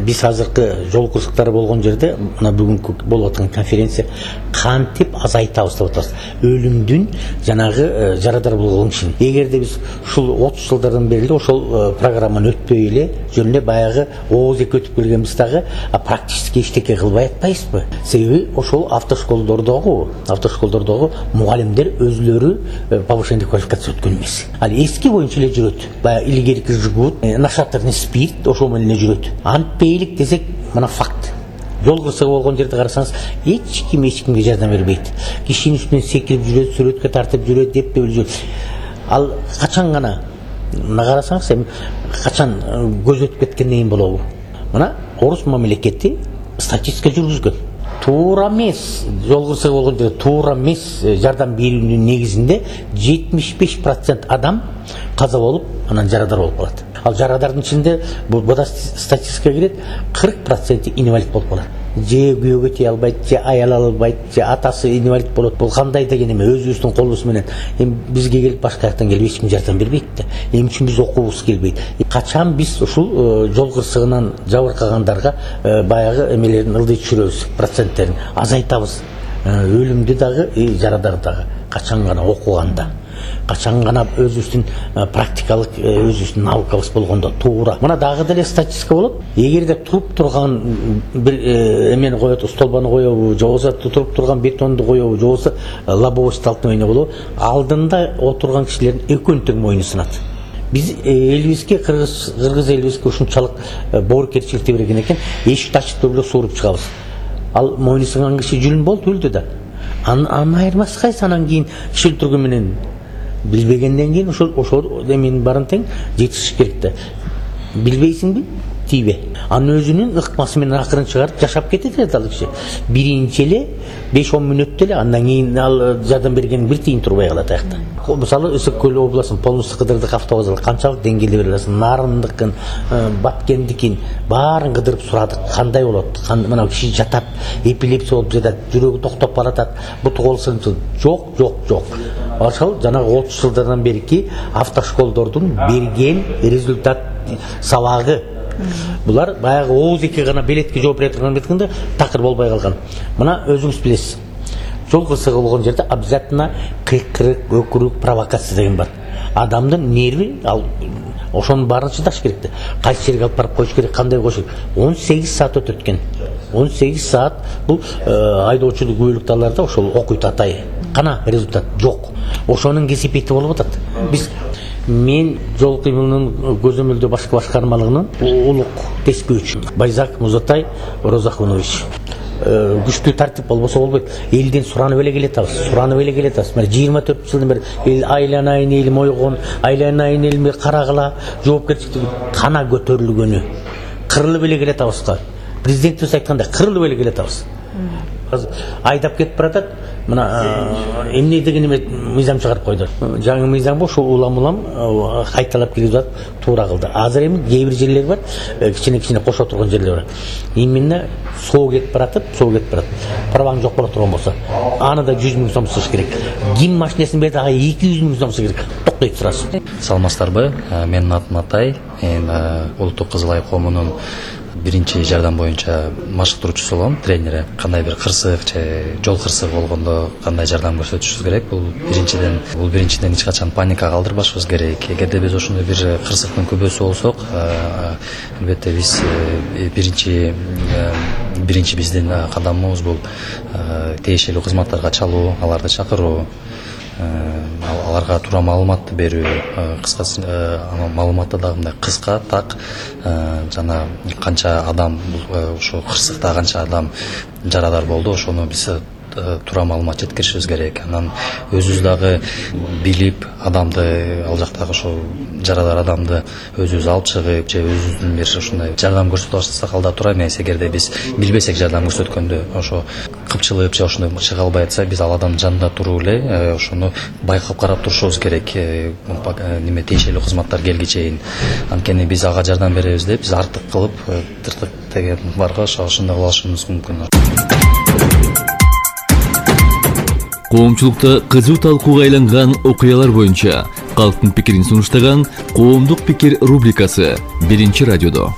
Биз азыркы жол кырсыктары болгон жерде мына бүгүнкү болуп аткан конференция кантип азайтабыз деп атабыз. Өлүмдүн жанагы жарадар болгон кишини. Эгерде биз ушул 30 жылдардан бери ошол программаны өтпөй эле жөн эле баягы ооз эки өтүп келгенбиз дагы, практически эчтеке кылбай атпайбызбы? Себеби ошол автошколдордогу мугалимдер өзлөрү повышение квалификация өткөн эмес. Ал эски боюнча эле жүрөт. Баягы илгерки жигут, нашатырный спирт ошол менен эле жүрөт. Антпейлик десек, мына факт. Жол кырсыгы болгон жерде карасаңыз, эч кимге жардам бербейт. Кишинин үстүнөн секирип жүрөт, сүрөткө тартып жүрөт, деп жүрөт. Ал качан гана мына карасаңыз, эми качан көз өтүп кеткенден кийин болобу? Мына орус мамлекети статистика жүргүзгөн. Туура эмес, жол кырсыгы болгон жерде туура эмес жардам берүүнүн негизинде 75% адам каза болуп, анан жарадар болуп калат. Ал жарадардын ичинде бул статистикага кирет, 40% инвалид болуп калат. Же күйөөгө тие албайт, же аял албайт, же атасы инвалид болот. Бул кандай деген эме, өзүбүздүн колубуз менен. Эми бизге келип башка жактан келип эч ким жардам бербейт да. Эмне үчүн биз окуубуз келбейт? Качан биз ушул жол кырсыгынан жабыркагандарга баягы эмелерин ылдый түшүрөбүз, проценттерин азайтабыз. Өлүмдү дагы, жарадарды дагы качан гана окуганда. Качан гана өзүбүздүн практикалык өзүбүздүн наукабыз болгондо туура. Мына дагы деле статистика болот. Эгерде туруп турган бир эмени коет, столбаны коебу, же болбосо туруп турган бетонду коебу, же болбосо лобовой столкновение болобу, алдында отурган кишилердин экөөнүн тең мойну сынат. Биз элибизге, кыргыз элибизге ушунчалык боорукерчиликти берген экен, эшикти ачып эле сууруп чыгабыз. Ал мойну сынган киши жүлүн болду, өлдү да. Анын айырмасы кайсы? Анан кийин киши өлтүргөн менен билбегенден кийин ошол эменин баарын тең жетишиш керек да. Билбейсиңби? Тийбе. Анын өзүнүн ыкмасы менен акырын чыгарып жашап кетет ал киши. Биринчи эле 5-10 мүнөттө эле, андан кийин ал жардам берген бир тиын турбай калат аякта. Мисалы Өсөк көл областынын Полнусты Кыдырдык автобазы канчалык деңгээлде бере аласың? Нарындыкын, Баткендикин баарын кыдырып сурадык. Кандай болот? Мына киши жатат, эпилепсия болуп жатат, жүрөгү токтоп баратат, буту колу сынчыл. Жок. Ошол жанагы 30 жылдардан берки автошколдордун берген результат сабагы. Булар баягы ооз эки гана билетке жооп бере турган беткенде такыр болбой калган. Мына өзүңүз билесиз. Жол кырсыгы болгон жерде обязательно кыйкырык, өкүрүк, провокация деген бар. Адамдын нерви ал ошонун баарын чыдаш керек да. Кайсы жерге алып барып коюш керек, кандай коюш керек. 18 саат өтөт экен. 18 саат бул айдоочулук күбөлүктарларда ошол окуйт атай. Кана результат жок. Ошонун кесипети болуп атат. Мен жол кыймылынын көзөмөлдөө башкармалыгынын улук теспөөчү Байзак Музатай Розахунович. Күчтүү тартип болбосо болбойт. Элден суранып эле келатабыз. Мына 24 жылдан бери эл айланайын элим ойгон, айланайын элим карагыла, жоопкерчиликтин кана көтөрүлгөнү. Кырылып эле келатабыз. Президентибиз айткандай кырылып эле келатабыз. Айдап кетип баратат. Мына эмне деген эме мыйзам чыгарып койду. Жаңы мыйзам ошо улам кайталап киргизип туура кылды. Азыр эми кээ бир жерлер бар, кичине кошо турган жерлер бар. Именно соо кетип баратып. Праваң жок боло турган болсо, аны да 100 миң сом сыш керек. Ким машинесин берди, ага 200 миң сом сыш керек. Токтойт сразу. Саламатсыздарбы? Менин атым Атай. Улуттук Кызыл Ай коомунун биринчи жардам боюнча машыктыруучусу болом, тренери. Кандай бир кырсык же жол кырсыгы болгондо кандай жардам көрсөтүшүбүз керек? Бул биринчиден эч качан паника калтырбашыбыз керек. Эгерде биз ошондой бир кырсыктын күбөсү болсок, албетте биз биринчи биздин кадамыбыз бул тиешелүү кызматтарга чалуу, аларды чакыруу, аларга туура маалыматты берүү, кыскасы маалыматты дагы мындай кыска, так, жана канча адам ошо кырсыкта канча адам жарадар болду, ошону биз туура маалымат жеткиришибиз керек. Анан өзүбүз дагы билип, адамды ал жактагы ошо жарадар адамды өзүбүз алып чыгып, же өзүбүздүн бир ушундай жардам көрсөтүп баштасак алда туура эмес. Эгерде биз билбесек жардам көрсөткөндө, ошо кыпчылып же ошондой чыга албай атса, биз ал адамдын жанында туруп эле ошону байкап карап турушубуз керек. Неме тиешелүү кызматтар келгиче чейин. Анткени биз ага жардам беребиз деп, биз артык кылып, тыртык деген барга ошондой кыла алышыбыз мүмкүн. Коомчулукта кызуу талкууга айланган окуялар боюнча калктын пикирин сунуштаган Коомдук пикир рубрикасы 1-радиодо.